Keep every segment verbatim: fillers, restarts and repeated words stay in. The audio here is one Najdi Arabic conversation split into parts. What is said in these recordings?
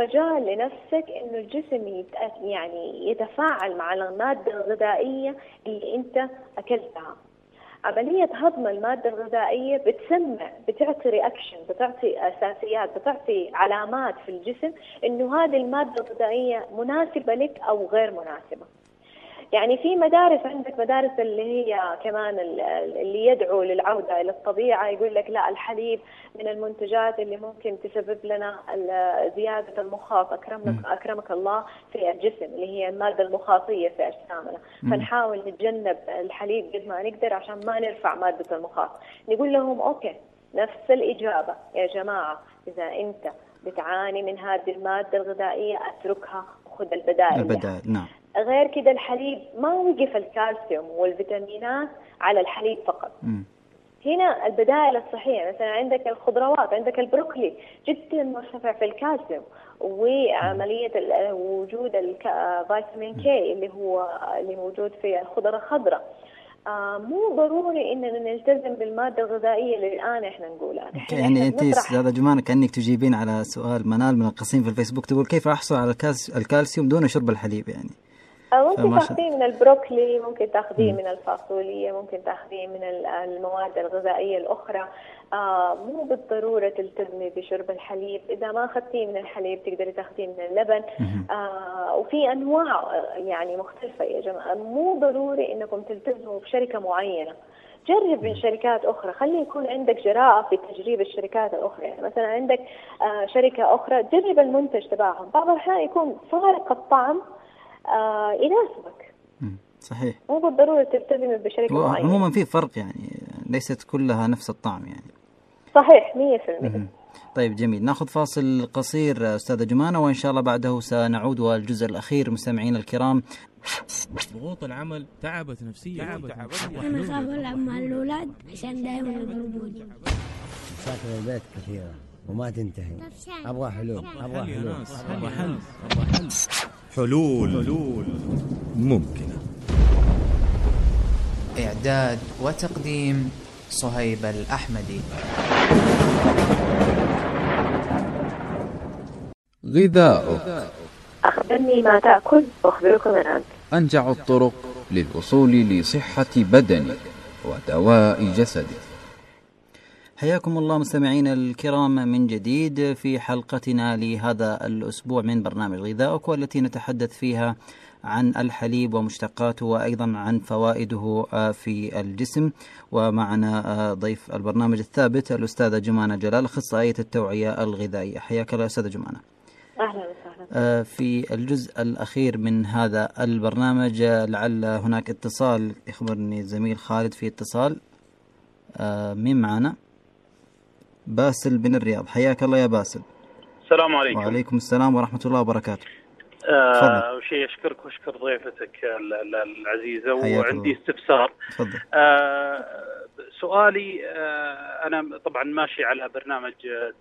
مجال لنفسك إنه الجسم يت... يعني يتفاعل مع المادة الغذائية اللي أنت أكلتها. عملية هضم المادة الغذائية بتسمع، بتعطي رياكشن، بتعطي أساسيات، بتعطي علامات في الجسم إنه هذه المادة الغذائية مناسبة لك أو غير مناسبة. يعني في مدارس، عندك مدارس اللي هي كمان اللي يدعو للعودة إلى الطبيعة، يقول لك لا، الحليب من المنتجات اللي ممكن تسبب لنا زيادة المخاط، أكرمك أكرمك الله في الجسم، اللي هي المادة المخاطية في أجسامنا، فنحاول نتجنب الحليب قد ما نقدر عشان ما نرفع مادة المخاط. نقول لهم أوكي، نفس الإجابة يا جماعة، إذا أنت بتعاني من هذه المادة الغذائية اتركها وخذ البدائل. البدائل نعم. غير كده الحليب ما وقف الكالسيوم والفيتامينات على الحليب فقط. م. هنا البدائل الصحية، مثلا عندك الخضروات، عندك البروكلي جدا مرتفع في الكالسيوم، وعملية وجود الفيتامين كي اللي هو اللي موجود في الخضرة الخضراء. آه مو ضروري إننا نلتزم بالمادة الغذائية اللي الآن إحنا نقولها. يعني أنت أستاذة جمانة كأنك تجيبين على سؤال منال من القصيم في الفيسبوك، تقول كيف أحصل على الكالسيوم دون شرب الحليب؟ يعني ممكن تاخذيه من البروكلي، ممكن تاخذيه من الفاصوليا، ممكن تاخذيه من المواد الغذائية الأخرى. آه مو بالضرورة تلتزمي بشرب الحليب. إذا ما أخذتيه من الحليب تقدري تاخذيه من اللبن. آه وفي أنواع يعني مختلفة يا جماعة، مو ضروري إنكم تلتزموا بشركة معينة. جرب من شركات أخرى، خلي يكون عندك جراءة في تجريب الشركات الأخرى. يعني مثلا عندك آه شركة أخرى، جرب المنتج تبعهم، بعض الأحيان يكون فارق الطعم آه يناسبك. صحيح، مو بالضرورة تلتزم بشركة معينة. عموما في فرق، يعني ليست كلها نفس الطعم يعني. صحيح مية في المية. طيب جميل، ناخذ فاصل قصير أستاذة جمانة، وإن شاء الله بعده سنعود والجزء الأخير. مستمعين الكرام، ضغوط العمل تعبت نفسيا. أنا خاف ألعب مع الأولاد عشان دائما يضربوني. مشاكل البيت كثيرة وما تنتهي. أبغى حلول، أبغى حلول، أبغى حل، أبغى حل. حلول حلول ممكنة. إعداد وتقديم صهيب الأحمدي. غذاؤك. أخبرني ما تأكل وأخبرك من أنت. أنجع الطرق للوصول لصحة بدنك ودواء جسدك. حياكم الله مستمعين الكرام من جديد في حلقتنا لهذا الأسبوع من برنامج غذاؤك، والتي نتحدث فيها عن الحليب ومشتقاته وأيضا عن فوائده في الجسم. ومعنا ضيف البرنامج الثابت الأستاذة جمانة جلال، أخصائية التوعية الغذائية. حياك الله أستاذة جمانة. أهلا وسهلا. في الجزء الأخير من هذا البرنامج لعل هناك اتصال، يخبرني الزميل خالد في اتصال. مين معنا؟ باسل بن الرياض. حياك الله يا باسل. السلام عليكم. وعليكم السلام ورحمة الله وبركاته. أه شيء أشكرك وأشكر ضيفتك العزيزة، وعندي استفسار. أه سؤالي، أه أنا طبعا ماشي على برنامج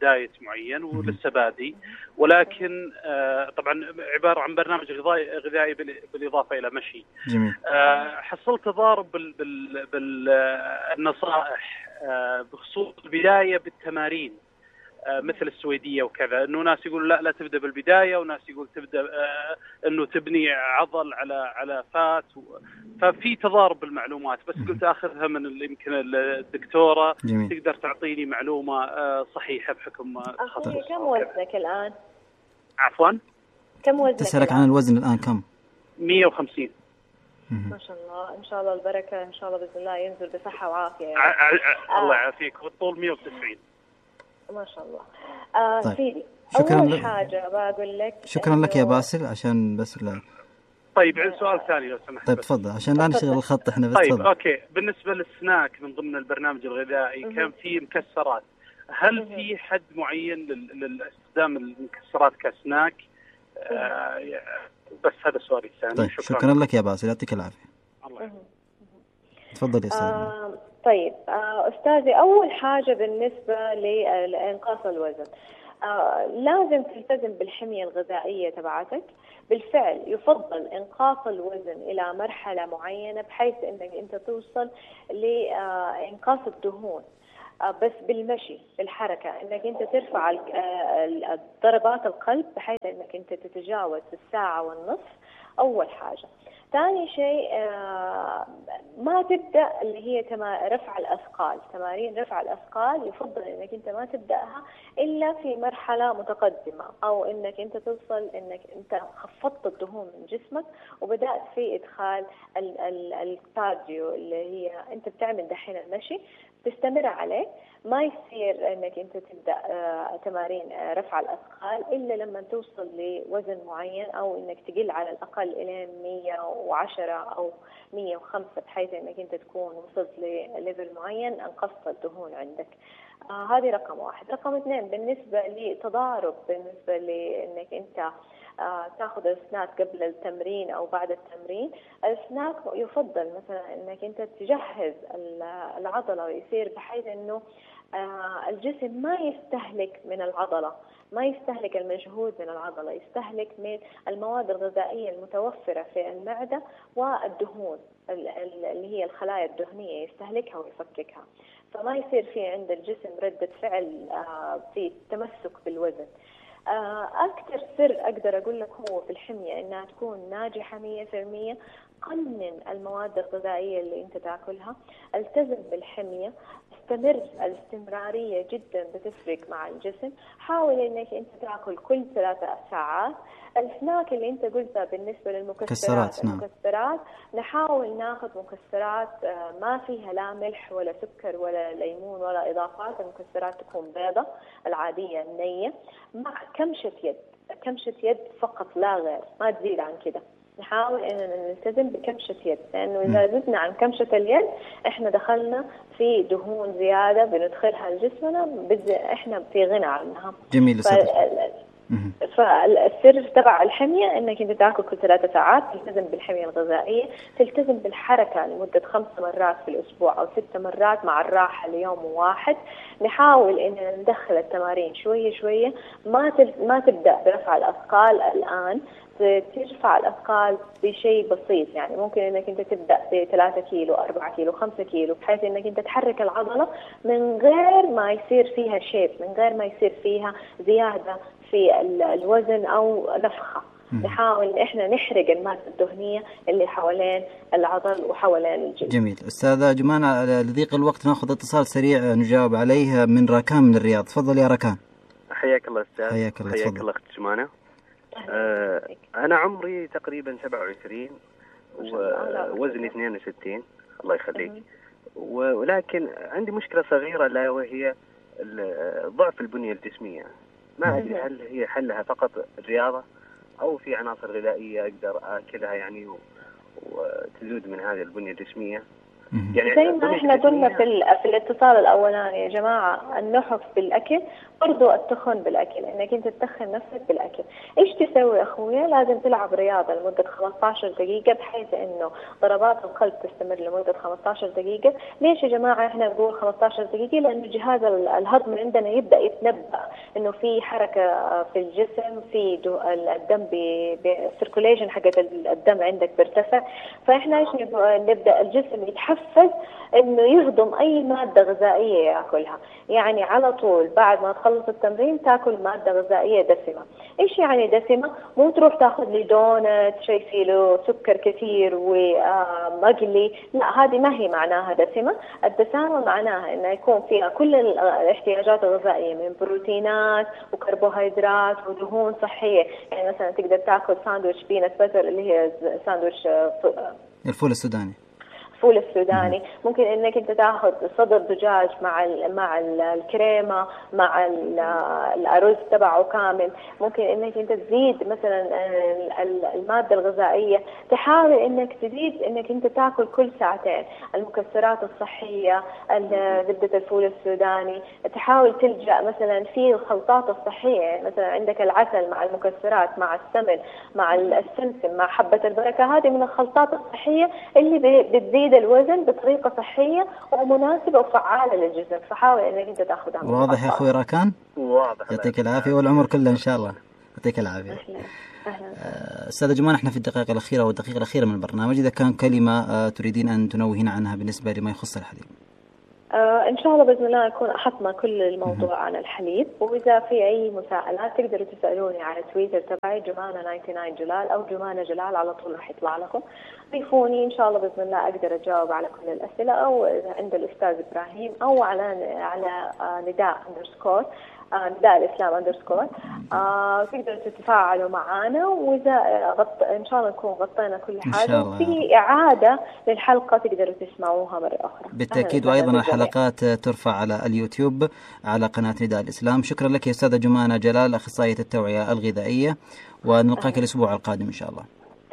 دايت معين ولسه بادي، ولكن أه طبعا عبارة عن برنامج غذائي غذائي بالإضافة إلى مشي. جميل. أه حصلت تضارب بالنصائح أه بخصوص البداية بالتمارين مثل السويدية وكذا، انه ناس يقول لا لا تبدا بالبدايه، وناس يقول تبدا آه انه تبني عضل على على فات و... ففي تضارب بالمعلومات، بس قلت اخذها من يمكن الدكتوره. جميل. تقدر تعطيني معلومه آه صحيحه بحكم أخي كم وزنك الان؟ عفوا كم وزنك؟ تسألك عن الوزن الان كم؟ مية وخمسين. ما شاء الله، ان شاء الله البركه، ان شاء الله باذن الله ينزل بصحه وعافيه يعني. ع... ع... الله يعافيك. والطول مية وتسعين. ما شاء الله. آه طيب. سيدي، شكرا أول لك. حاجة بقول لك شكرا لك يا باسل، عشان بس لا. طيب عندي سؤال ثاني لو سمحت. طيب تفضل عشان لا نشغل الخط احنا بس. طيب تفضل. اوكي، بالنسبة للسناك من ضمن البرنامج الغذائي م- كان في مكسرات، هل م- في حد معين للاستخدام المكسرات كسناك؟ آه بس هذا سؤالي الثاني. طيب شكرا, شكرا لك يا باسل، يعطيك العافية. الله. تفضل يا استاذ. آه طيب آه أستاذي، أول حاجة بالنسبة لإنقاص الوزن، آه لازم تلتزم بالحمية الغذائية تبعتك. بالفعل يفضل إنقاص الوزن إلى مرحلة معينة بحيث أنك أنت توصل لإنقاص الدهون. بس بالمشي بالحركة، انك انت ترفع ضربات القلب بحيث انك انت تتجاوز الساعة والنصف اول حاجة. ثاني شيء ما تبدأ اللي هي رفع الأثقال، تمارين رفع الأثقال يفضل انك انت ما تبدأها الا في مرحلة متقدمة، او انك انت توصل انك انت خفضت الدهون من جسمك وبدأت في ادخال الكارديو اللي هي انت بتعمل دحين المشي، تستمر عليه. ما يصير انك انت تبدا تمارين رفع الاثقال الا لما توصل لوزن معين، او انك تقل على الاقل الى مية وعشرة او مية وخمسة بحيث انك انت تكون وصلت لليفل معين انقصت الدهون عندك. آه هذه رقم واحد. رقم اثنين بالنسبه لتضارب، بالنسبه لانك انت آه تاخذ السناك قبل التمرين او بعد التمرين. السناك يفضل مثلا انك انت تجهز العضله ويصير بحيث انه آه الجسم ما يستهلك من العضله، ما يستهلك المجهود من العضله، يستهلك من المواد الغذائيه المتوفره في المعده والدهون اللي هي الخلايا الدهنيه يستهلكها ويفككها، فما يصير في عند الجسم ردة فعل آه في تمسك بالوزن. أكثر سر أقدر أقول لك هو في الحمية إنها تكون ناجحة مية في المية. قنن المواد الغذائية اللي أنت تأكلها، التزم بالحمية، استمر. الاستمرارية جدا بتفرق مع الجسم. حاول إنك أنت تأكل كل ثلاثة ساعات. السناك اللي أنت قلتها بالنسبة للمكسرات، المكسرات نحاول ناخذ مكسرات ما فيها لا ملح ولا سكر ولا ليمون ولا إضافات. المكسرات تكون بيضة العادية النية مع كمشة يد، كمشة يد فقط لا غير، ما تزيد عن كده. نحاول إننا نلتزم بكمشة يد، لأنه إذا زدنا عن كمشة اليد إحنا دخلنا في دهون زيادة بندخلها لجسمنا، إحنا في غنى عنها. جميل. فالسر تبع الحمية انك انت تاكل كل ثلاثة ساعات، تلتزم بالحمية الغذائية، تلتزم بالحركة لمدة خمس مرات في الاسبوع او ست مرات مع الراحة ليوم واحد. نحاول اننا ندخل التمارين شوية شوية، ما ما تبدأ برفع الاثقال الان، ترفع الأثقال بشيء بسيط. يعني ممكن انك انت تبدأ بثلاثة كيلو، أربعة كيلو، خمسة كيلو، بحيث انك انت تحرك العضلة من غير ما يصير فيها شيب، من غير ما يصير فيها زيادة في الوزن او نفخة. نحاول احنا نحرق المادة الدهنية اللي حوالين العضل وحوالين الجلد. جميل. أستاذة جمانة، لضيق الوقت ناخذ اتصال سريع نجاوب عليه من راكان من الرياض. تفضل يا راكان. حياك الله أستاذ. حياك الله. حياك الله أخت جمانة. آه أنا عمري تقريبا سبعة وعشرين ووزني اثنين وستين. الله يخليك. ولكن عندي مشكلة صغيرة لا وهي ضعف البنية الجسمية. ما أدري هل هي حلها فقط الرياضة أو في عناصر غذائية أقدر أكلها يعني وتزود من هذه البنية الجسمية. يعني زي ما احنا قلنا في, في الاتصال الأولاني يا جماعة، النحف بالأكل برضو التخن بالأكل، انك انت تتخن نفسك بالأكل. ايش تسوي أخويا؟ لازم تلعب رياضة لمدة خمسة عشر دقيقة بحيث انه ضربات القلب تستمر لمدة خمسة عشر دقيقة. ليش يا جماعة احنا نقول خمسة عشر دقيقة؟ لأنه جهاز الهضم عندنا يبدأ يتنبأ انه في حركة في الجسم، في الدم بالسيركوليشن حقت الدم عندك بيرتفع. فاحنا ايش نبدأ الجسم يتحفز انه يهضم اي مادة غذائية ياكلها. يعني على طول بعد ما تخلص التمرين تاكل مادة غذائية دسمة. ايش يعني دسمة؟ مو تروح تاخذ لي دونت شيء فيه له سكر كثير ومقلي، لا هذه ما هي معناها دسمة. الدسامة معناها انه يكون فيها كل الاحتياجات الغذائية من بروتينات وكربوهيدرات ودهون صحية. يعني مثلا تقدر تاكل ساندويتش بينات باتر اللي هي ساندويتش الفول السوداني، الفول السوداني. ممكن انك انت تاخذ صدر دجاج مع ال مع ال الكريمه مع ال الارز تبعه كامل. ممكن انك انت تزيد مثلا الماده الغذائيه، تحاول انك تزيد انك انت تاكل كل ساعتين المكسرات الصحيه، زبده الفول السوداني. تحاول تلجا مثلا في الخلطات الصحيه، يعني مثلا عندك العسل مع المكسرات مع السمن مع السمسم مع حبه البركه. هذه من الخلطات الصحيه اللي بتزيد الوزن بطريقة صحية ومناسبة وفعالة للجسم. فحاول انك انت تاخذها. واضح يا اخوي راكان؟ واضح. يعطيك العافية والعمر كله ان شاء الله. يعطيك العافية. أستاذة جمانة، احنا في الدقائق الأخيرة والدقيقة الأخيرة من البرنامج، إذا كان كلمة تريدين أن تنوهين عنها بالنسبة لما يخص الحليب. آه إن شاء الله بإذن الله أكون أحطنا كل الموضوع عن الحليب، وإذا في أي مساءلات تقدروا تسألوني على تويتر تبعي جمانة تسعة وتسعين جلال أو جمانة جلال، على طول راح يطلع لكم. ضيفوني إن شاء الله بإذن الله أقدر أجاوب على كل الأسئلة، أو عند الأستاذ إبراهيم، أو على على نداء أندرسكور نداء الإسلام أندرسكور. آه تقدروا تتفاعلوا معنا، وإذا غط... إن شاء الله نكون غطينا كل حاجة، وفي إعادة للحلقة تقدروا تسمعوها مرة أخرى بالتأكيد. وأيضا الحلقات ترفع على اليوتيوب على قناة نداء الإسلام. شكرا لك يا أستاذة جمانة جلال، أخصائية التوعية الغذائية، ونلقاك الأسبوع القادم إن شاء الله.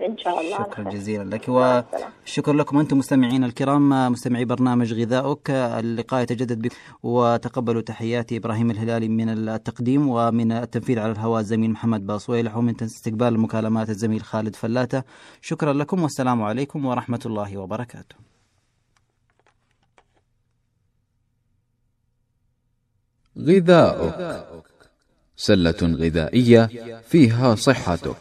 إن شاء الله. شكرا جزيلا لك، وشكرا لكم أنتم مستمعين الكرام، مستمعي برنامج غذاؤك. اللقاء يتجدد بكم، وتقبلوا تحياتي إبراهيم الهلالي من التقديم، ومن التنفيذ على الهواء الزميل محمد باصويلح، ومن استقبال المكالمات الزميل خالد فلاتة. شكرا لكم والسلام عليكم ورحمة الله وبركاته. غذاؤك، سلة غذائية فيها صحتك.